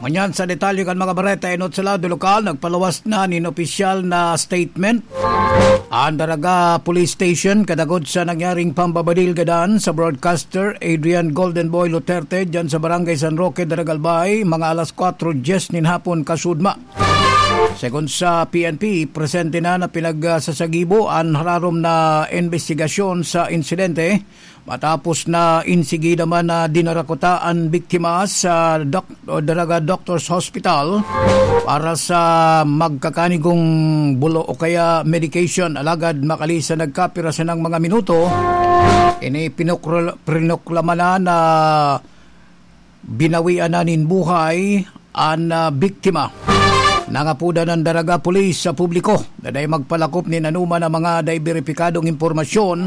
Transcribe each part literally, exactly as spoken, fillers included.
Ngunyan sa detalye kan mga bareta, enot sa lado lokal, nagpaluwas na nin opisyal na statement an Daraga Police Station kadagod sa nangyaring pambabadil gadan sa broadcaster Adrian Golden Boy Luterte dyan sa Barangay San Roque, Daraga, Albay, mga alas kwatro dyes nin hapon kasudma. Segun sa P N P, presente na na pinagsasagibo an hararom na imbestigasyon sa insidente. Matapos na insigida man na dinarakuta an biktima sa doc-, o Daraga Doctors Hospital para sa magkakanigong bulo o kaya medication. Alagad makalisan nagkapira sinang mga minuto, ini pinokro-, prinoklama na na binawian na nin buhay an, ah, biktima. Nangapodan an Daraga Police sa publiko na dai magpalakop nin anoman na mga dai beripikadong impormasyon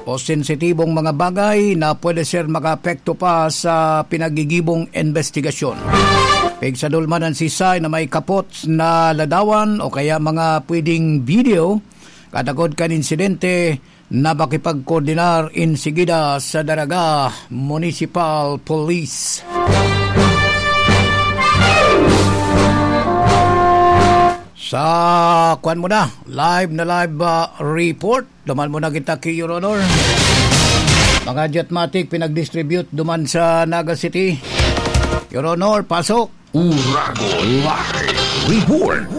o sensitibong mga bagay na pwede ser makaapekto pa sa pinagigibong investigasyon. Pigsadol man an sisay na may kapot na ladawan o kaya mga pwedeng video kadagod kan insidente na makipagkoordinar insigida sa Daraga Municipal Police. Sa kwan mo na, live na live, ah, report. Duman mo na kita ki Your Honor. Mga jetmatic pinag-distribute duman sa Naga City. Your Honor, pasok. Uragon Live Report.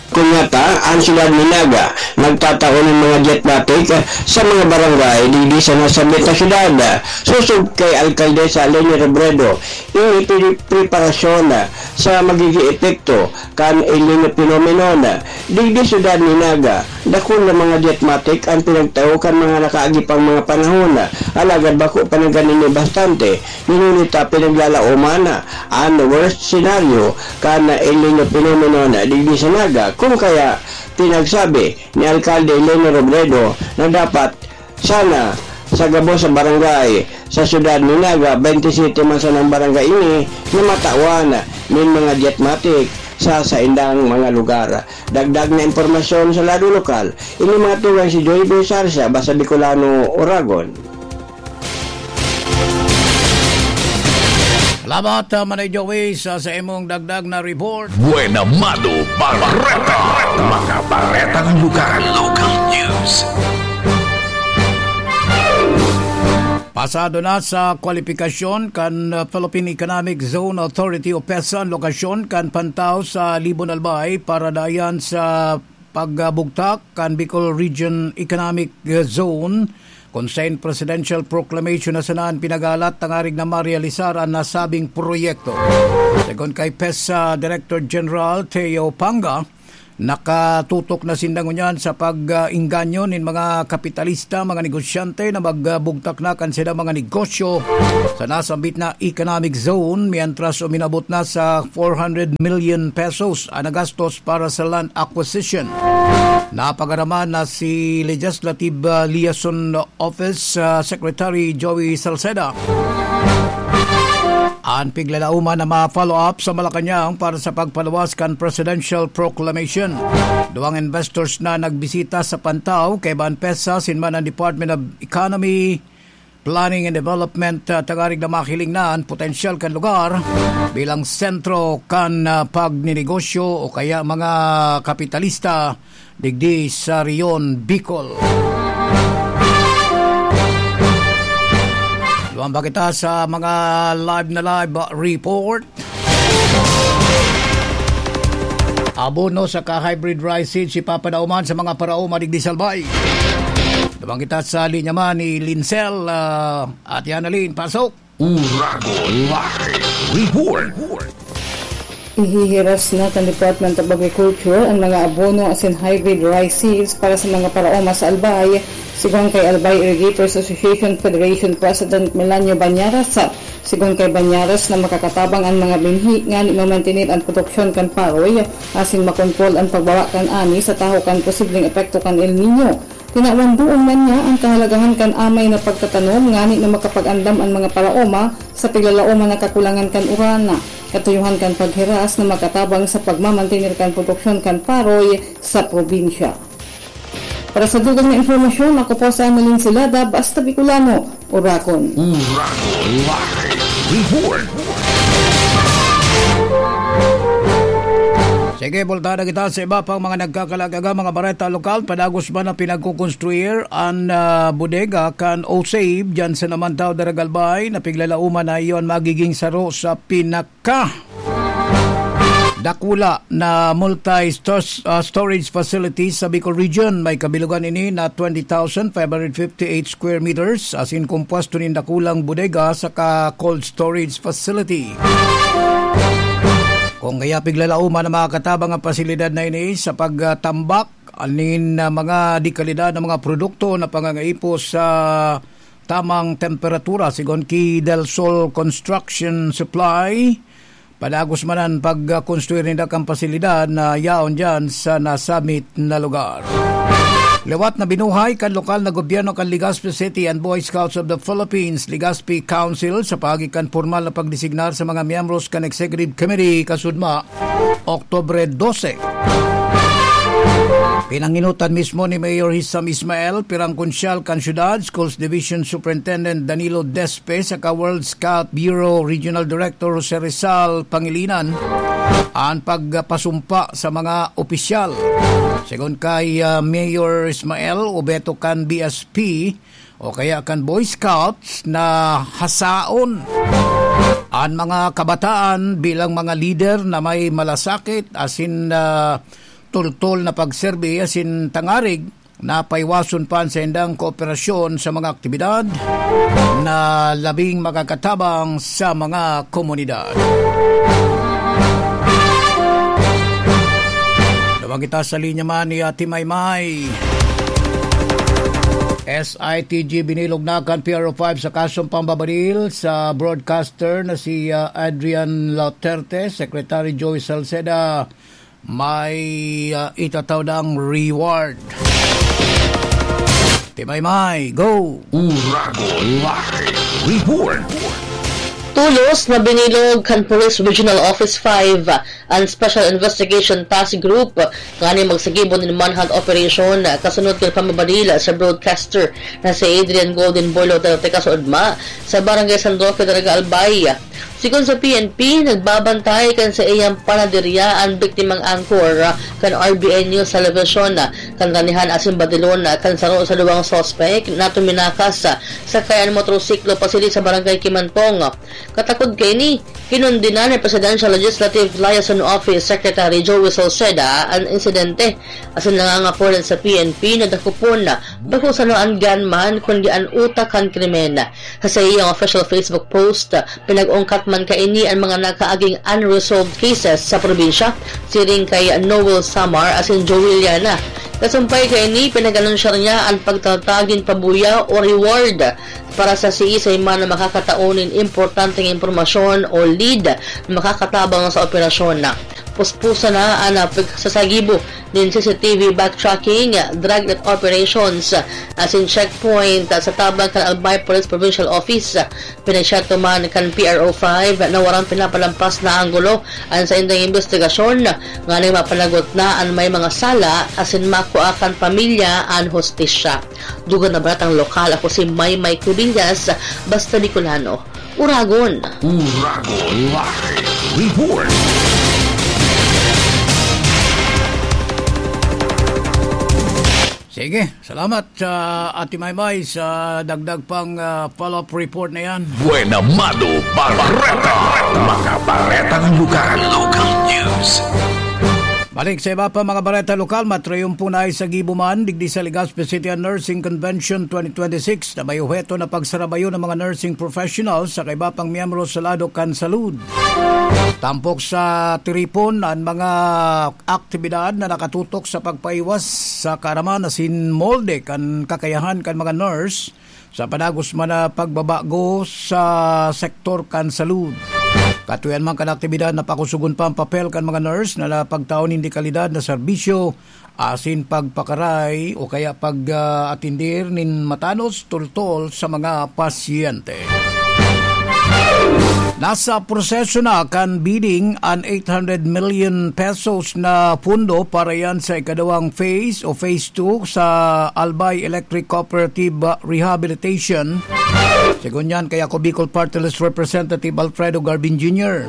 Kung ngata, ang siyudad ni Naga nagtatao nin mga jetmatic sa mga barangay digdi sa nasambit na siyudad. Sosog kay Alkaldesa Leni Robredo, ini pre-, preparasyon sa magiging epekto kan El Niño phenomenon. Digdi siyudad ni Naga, dakul na mga jetmatic ang pinagtao kan mga nakaagi pang mga panahon, alagad bako pa na ganini bastante. Ngunit, ah, pinaglalaoman an worst scenario kan El Niño phenomenon digdi sa Naga, kung kaya pinagsabi ni Alkalde Leni Robredo na dapat sana sa gabos sa barangay sa siyudad ni Naga, twenty-seven man sanang barangay ini na matawan nin mga jetmatic sa saindang mga lugar. Dagdag na impormasyon sa lado lokal, ini mga tugang si Joy Boy Sarsa, Basa Bicolano, Oragon. Salamat, ah, Manay Joey, sa, sa imong dagdag na report. Buena Mano Bareta. Mga baretang lugar. Local news. Pasado na sa kwalipikasyon kan, ah, Philippine Economic Zone Authority o PEZA an lokasyon kan Pantao sa Libon, Albay para dayan sa pagbugtak kan Bicol Region Economic, eh, Zone, kun saen presidential proclamation na sana an pinagalat tangarig na marealisar an nasabing proyekto. Segun kay PEZA Director General Theo Panga, nakatutok na sinda ngunyan sa pag-engganyo nin mga kapitalista, mga negosyante na magbugtak na kan saindang mga negosyo sa nasambit na economic zone, mientras uminabot na sa four hundred million pesos an nagastos para sa land acquisition. Napagaraman na si Legislative, ah, Liaison Office, ah, Secretary Joey Salceda an piglalauman na ma-follow up sa Malacañang para sa pagpaluwas kan presidential proclamation. Duwang investors na nagbisita sa Pantao, kaiba an PEZA, sinman an Department of Economy, Planning and Development, ah, tangarig na mahiling na an potensyal kan lugar bilang sentro kan, ah, pagninegosyo o kaya mga kapitalista digdi sa Rehiyon Bicol. Duman pa kita sa mga live na live, ah, report. Abono saka hybrid rice seeds ipapadauman sa mga paraoma digdi sa Albay. Duman kita sa linya man ni Lincel, ah, at Yana Lin, pasok. Uragon Live Report. Ihihiras na kan Department of Agriculture an mga abono asin hybrid rice seeds para sa mga paraoma sa Albay, sigon kay Albay Irrigators Association Federation President Melanio Bañaras. Sigon kay Bañaras na makakatabang an mga binhi ngani mamantener an produksyon kan paroy asin makontrol an pagbaba kan ani sa tahaw kan posibleng epekto kan El Niño. Tinawan duon man niya an kahalagahan kan amay na pagtatanom ngani na makapag-andam an mga paraoma sa piglalaoman na kakulangan kan uran, katuyohan kan paghiras na makatabang sa pagmamantener kan produksyon kan paroy sa probinsya. Para sa dugang na impormasyon, ako po si Annalyn Silada, Basta Bicolano, Oragon. Oragon Live Report. Sige, bultahan na kita sa iba pang mga nagkakalagaga, mga bareta lokal. Padagos man na pinagkukonstruir an, ah, bodega kan Osave, dyan sa Namantaw, Daragalbay, na piglalauman na iyon magiging saro sa pinaka dakula na multi-stor-, ah, storage facility sa Bicol Region. May kabilugan ini na twenty thousand five hundred fifty-eight square meters, asin kompuesto nin dakulang bodega saka cold storage facility. Kung kaya piglalauman ang mga katabang ang pasilidad na ini sa pagtambak anin na mga dekalidad na mga produkto na pangangaipo sa tamang temperatura, sigon ki Del Sol Construction Supply, padagos man an pagkonstruir ninda kan pasilidad na yaon diyan sa nasabit na lugar. Liwat na binuhay kan lokal na gobyerno kan Legazpi City an Boy Scouts of the Philippines, Legazpi Council, sa paagi kan pormal na pagdesignar sa mga miyembros kan Executive Committee kasudma, Oktubre dose. Pinanginutan mismo ni Mayor Hisham Ismael, pirang konsyal kan syudad, Schools Division Superintendent Danilo Despe, saka World Scout Bureau Regional Director Jose Rizal Pangilinan, an pagpasumpa sa mga opisyal. Segun kay, ah, Mayor Ismael, obeto kan B S P o kaya kan Boy Scouts na hasaon an mga kabataan bilang mga lider na may malasakit asin, ah, tultol na pagserbi asin tangarig na paiwason pa an saindang kooperasyon sa mga aktibidad na labing makakatabang sa mga komunidad. Tawag kita sa linya man ni Ate Maymay. S I T G, binilog na kan P R O five sa kasong pambabaril sa broadcaster na si, ah, Adrian Lauterte, Secretary Joey Salceda, may, ah, itatao dang reward. Ate Maymay, go! Oragon Live Report. Tulos na binilog kan Police Regional Office five an Special Investigation Task Group ngani magsagibo nin manhunt operation kasunod kan pambabaril sa broadcaster na si Adrian Golden Boy Lauterte kasuodma sa Barangay San Roque, Daraga Albay. Sigon sa P N P, nagbabantay kan saiyang panaderya an biktimang anchor kan R B N News Television. Kan ranihan asin badilon kan saro sa duwang suspek na tuminakas sakay an motorsiklo pasili sa Barangay Kimantong. Katakod kaini, kinondena ni Presidential Legislative Liaison Office Secretary Joey Salceda an insidente asin nangangapod sa P N P na dakopon bako sana an gunman kundi an utak kan krimen. Sa saiyang official Facebook post, pinag-ungkat man kaini an mga nakaaging unresolved cases sa probinsya, siring kay Noel Samar asin Joey Liana. Kasumpay kaini, pinag-anunsya niya an pagtatag nin pabuya o reward para sa siisay man na makakatao nin importanteng impormasyon o lead na makakatabang sa operasyon na. Puspusan na an, ah, pagsasagibo nin C C T V backtracking, dragnet operations, asin checkpoint sa tabang kan Albay Police Provincial Office. Pinasyerto man kan P R O five na warang pinapalampas na anggulo an saindang imbestigasyon, nganing mapanagot na an may mga sala asin makua kan pamilya an hustisya. Dugang na baretang lokal, ako si Maymay Cubillas, Basta Bicolano. Oragon. Oragon Live Report. Sige, salamat sa Ate Maymay sa dagdag pang, ah, follow-up report na yan. Buena Mano Bareta. Mga baretang lokal. Local news. Balik sa iba pa mga bareta lokal, matrayumpo na sa gibo man digdi sa Legazpi City an Nursing Convention twenty twenty-six na may obheto na pagsarabayon ng mga nursing professionals sa iba pang miyembro sa lado kan salud. Tampok sa tiripon an mga aktibidad na nakatutok sa pagpaiwas sa kaaraman asin molde kan kakayahan kan mga nurse sa padagos man na pagbabago sa sektor kan salud. Katuyan man kan aktibidad na pakusugon pa an papel kan mga nurse na napagtao nin dekalidad na serbisyo asin pagpakaray o kaya pag, ah, atindir nin matanos tultol sa mga pasyente. Nasa proseso na kan bidding an eight hundred million pesos na pundo para yan sa ikadawang phase o phase two sa Albay Electric Cooperative Rehabilitation. Segun yan kay Ako Bicol Party List Representative Alfredo Garbin Junior.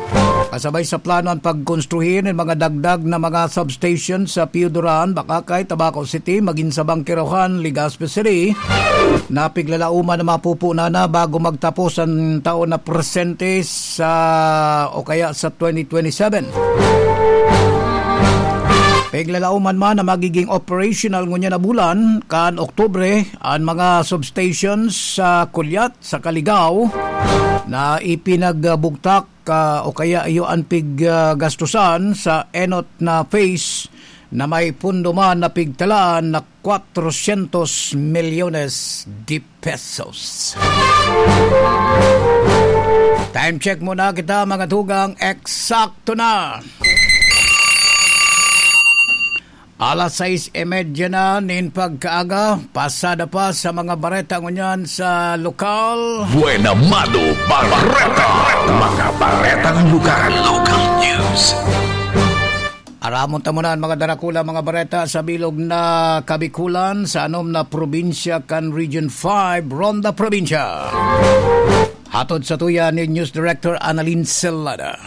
Kasabay sa plano an pagkonstruhi nin mga dagdag na mga substation sa Pio Duran, Bacacay, Tabaco City, magin sa Bangkerohan, Legazpi City, na piglalauman na mapupunan na bago magtapos an taon na presente sa, o kaya sa twenty twenty-seven. Piglalauman man na magiging operational ngunyan na bulan, kan Oktubre, an mga substations sa Kulyat, sa Kaligao, na ipinagbugtak, ah, o kaya iyo an piggastusan sa enot na phase na may pundo man na pigtalaan na cuatrocientos millones de pesos. Time check muna kita, mga tugang. Eksakto na. Alas sais y media na nin pagkaaga, pasada pa sa mga bareta ngunyan sa lokal. Buena Mano Bareta. Mga baretang lugar. Local news. Aramon ta muna an mga darakula, mga bareta sa bilog na Kabikulan, sa anom na probinsya kan Region five, Ronda Probinsya. Hatod sa tuya ni News Director Annalyn Celada.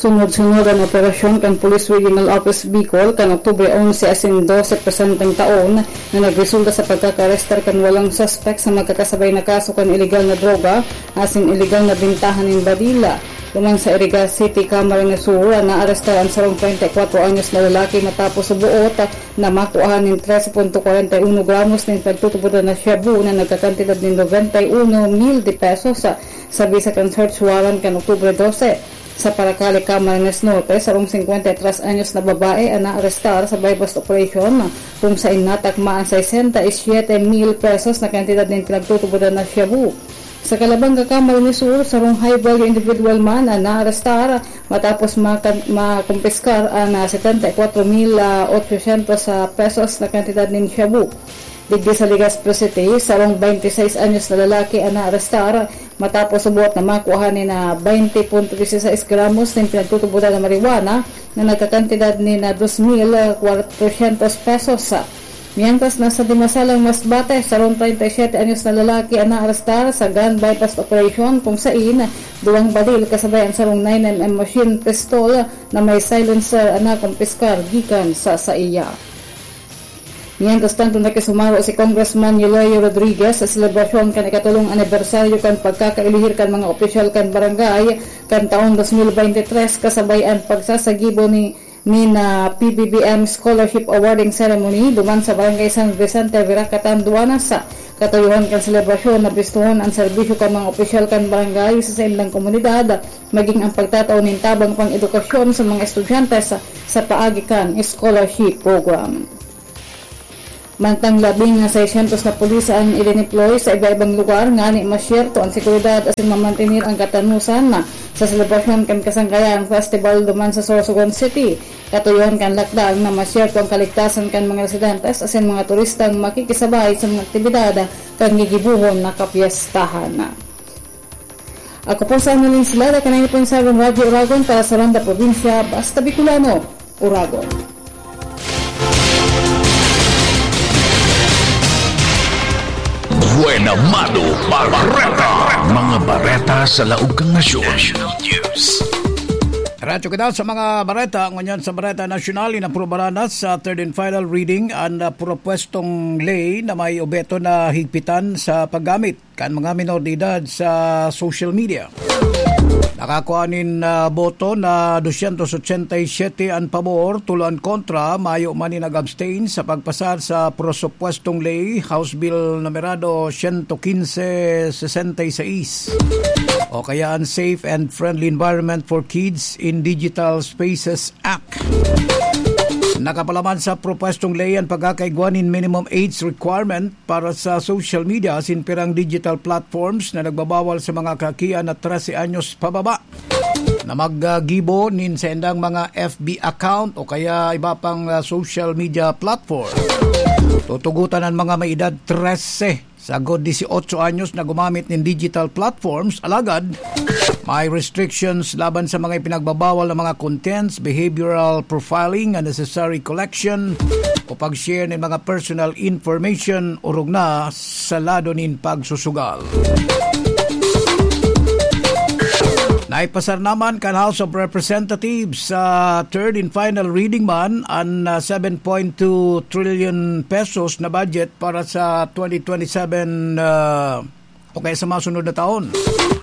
Sunod-sunod an operasyon kan Police Regional Office Bicol kan Oktubre onse asin dose presenteng taon, na nagresulta sa pagkakaarestar kan walong suspek sa magkakasabay na kaso kan iligal na droga asin iligal na bentahan nin badila. Duman sa Iriga City, Camarines Sur, naarestar an sarong treinta y cuatro anyos na lalaki matapos subuot na makuahan nin trese punto kwarenta y uno gramos nin pagtutubodan na shabu na nagkakantidad nin noventa y uno mil de pesos. Sabi sa kan search warrant kan Oktubre dose, sa Paracale, Camarines Norte, sarong singkwenta y tres anyos na babae an naarestar sa buy-bust operation, kung sain natakma an sesenta y siete mil pesos na kantidad nin pinagtutubodan na shabu. Sa Calabanga, Camarines Sur, sarong high-value individual man an naarestar matapos makan-, makumpiskar an, ah, setenta y cuatro mil ochocientos pesos na kantidad nin shabu. Digdi sa Legazpi City, sarong twenty-six anyos na lalaki an naarestar matapos subuot na makuha nin, ah, twenty punto dieciséis gramos nin pinagtutubodan na marijuana na nagkakantidad nin, ah, dos mil cuatrocientos pesos. Mientras, nasa Dimasalang Masbate, sarong treinta y siete anyos na lalaki an naarestar sa gun buy-bust operation, kung sain duwang baril kasabay an sarong nine M M machine pistol na may silencer an nakumpiskar gikan sa saiya. Mientras tanto, nakisumaro si Congressman Yoleo Rodriguez sa selebrasyon kan ikatolong anibersaryo kan pagkakaelihir kan mga opisyal kan barangay kan taong dos mil bente tres, kasabay an pagsasagibo ni, ni na P B B M Scholarship Awarding Ceremony duman sa Barangay San Vicente, Viracatan, Duanas. Katuyohan kan selebrasyon, nabistohon an serbisyo kan mga opisyal kan barangay sa saindang komunidad, maging ang pagtatao nin tabang pang-edukasyon sa mga estudyante sa, sa paagi kan scholarship program. Mantang labing seiscientos na pulis an idineploy sa iba-ibang lugar ngani masyerto an seguridad asin mamantener an katanosan na sa selebrasyon kan Kasangkayan Festival duman sa Sorsogon City. Katuyohan kan lakdang na masyerto an kaligtasan kan mga residentes asin mga turistang makikisabay sa mga aktibidad kan gigibohon na kapyestahan. Ako po sa Annalyn Silada, kanay po sa Radyo Oragon para sa Ronda Probinsya, basta Bicolano, Oragon. Buena Mano Bareta. Mga bareta sa laog kan nasyon. National News. Diretso kita sa mga bareta. Ngunyan sa bareta nasyonal, inaprubaran na sa third and final reading an, ah, propwestong ley na may obheto na higpitan sa paggamit kan mga minor de edad sa social media. Nakakua nin, ah, boto na dosyentos otsenta y siyete an pabor, tulo an kontra, mayo man nin nag-abstain sa pagpasar sa prosupwestong ley, House Bill numerado siyento kinse sesenta y seis, o kaya an Safe and Friendly Environment for Kids in Digital Spaces Act. Nakapalaman sa propwestong ley an pagkakaigwa nin minimum age requirement para sa social media asin pirang digital platforms na nagbabawal sa mga kakian na trese anyos pababa na maggibo nin saindang mga F B account o kaya iba pang, ah, social media platform. Tutugutan ang mga may edad trese sagod dieciocho anyos na gumamit nin digital platforms, alagad may restrictions laban sa mga ipinagbabawal na mga contents, behavioral profiling, unnecessary collection o pag-share nin mga personal information orog na sa lado nin pagsusugal. Naipasar naman kan House of Representatives sa third and final reading man an, ah, seven point two trillion pesos na budget para sa twenty twenty-seven, ah, o kaya sa masunod na taon.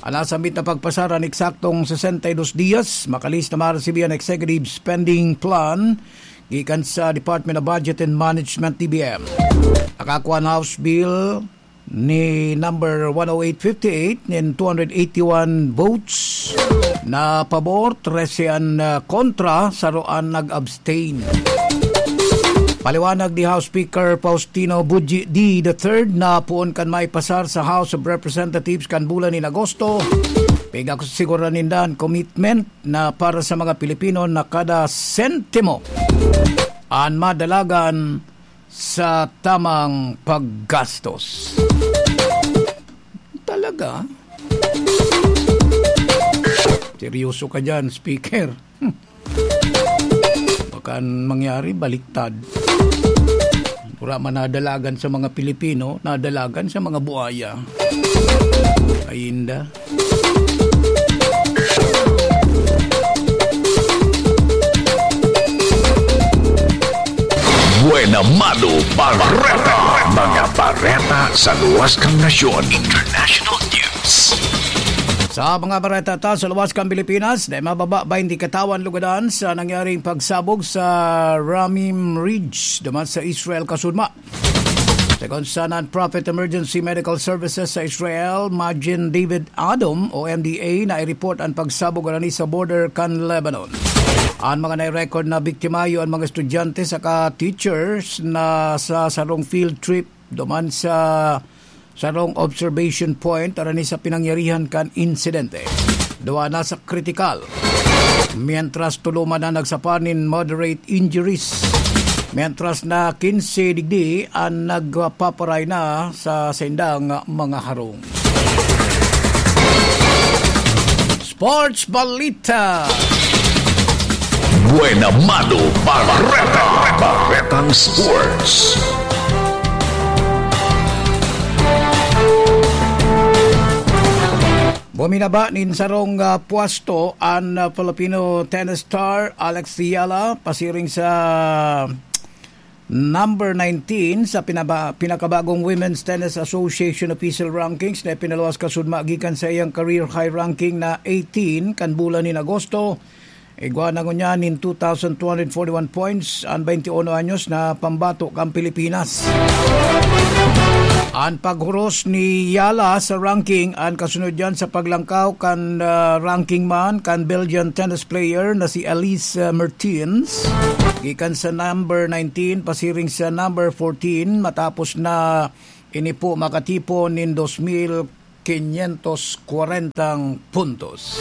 An nasambit na pagpasar an eksaktong sesenta y dos dias, makalihis na maresibi an executive spending plan gikan sa Department of Budget and Management, D B M. Nakakua an House Bill ni number one oh eight fifty-eight nin two hundred eighty-one votes na pabor, trese an, ah, kontra, saro an nag-abstain. Paliwanag ni House Speaker Faustino Buji D the third na poon kan maipasar sa House of Representatives kan bulan nin Agosto, pigkasigurahan ninda an commitment na para sa mga Pilipino na kada sentimo an madalagan sa tamang paggastos. Talaga? Seryoso ka dyan, Speaker. Hmm. Baka mangyari, baliktad. Wala man nadalagan sa mga Pilipino, nadalagan sa mga buaya. Ay, inda. Buena Mano Bareta. Mga bareta sa luwas kan nasyon. International news. Sa mga bareta ta sa luwas kan Pilipinas, dai mababa baynte katawan lugadan sa nangyaring pagsabog sa Ramim Ridge, duman sa Israel, kasudma. Segun sa Non-Profit Emergency Medical Services sa Israel, Magen David Adom o M D A, na i-report an pagsabog na ni sa border kan Lebanon. An mga nai-record na biktima iyo an mga estudyante saka teachers na sa sarong field trip duman sa sarong observation point arani sa pinangyarihan kan insidente. Duwa na sa kritikal, mientras tulo man an nagsapa nin moderate injuries, mientras na quince digdi an nagpaparay na sa saindang mga harong. Sports Balita. Buena Mano Bareta. Baretang Sports. Buminaba nin sarong, ah, pwesto an, ah, Filipino tennis star Alex Eala, pasiring sa number nineteen sa pinaba-, pinakabagong Women's Tennis Association official rankings na ipinaluwas kasudma gikan sa iyang career high ranking na eighteen kan bulan nin Agosto. Igwa na ngunyan nin two thousand two hundred forty-one points an twenty-uno anyos na pambato kan Pilipinas. An paghuros ni Eala sa ranking an kasunod diyan sa paglangkaw kan, ah, ranking man kan Belgian tennis player na si Elise, ah, Mertens, gikan sa number nineteen pasiring sa number fourteen, matapos na ini po makatipon nin dos mil quinientos kwarentang puntos.